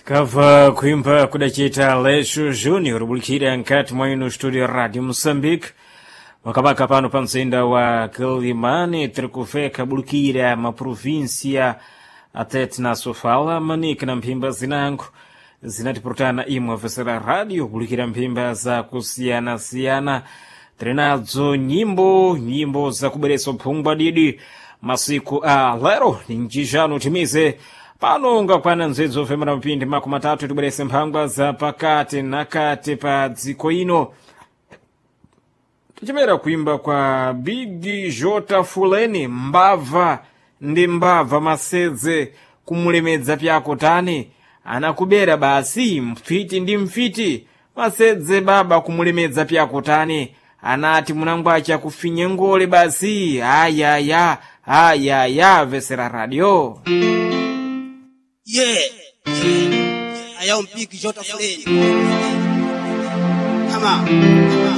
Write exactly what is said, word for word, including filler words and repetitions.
Kava kuimba kudachita Lexo Júnior bulikira nkati mwa ino studio Radio Moçambique wakapaka pano pa mzinda wa Quelimane tiri kufeka bulikira maprovíncia até tinasofala manika na mphimba zinango zinatipurutana imwe afesera radio bulikira mphimba za kusiyana-siyana tiri nadzo nyimbo nyimbo zakubweretsa uphungwa didi masiku a lero ni njijano timize pano ngakwana nzedzo ofemera mpindi makumi atatu tibwerese mphangwa za pakati na kati pa dziko ino tichimera kuimba kwa Big Jota Fuleni mbava ndi mbava masedze kumulemedza pyako tani anakubera basi mfiti ndi mfiti masedze baba kumulemedza pyako tani anati munangwacha kufinye ngole basi ayaya ayaya vesera radio. Yeah. I am Big Jota Flynn. Come on.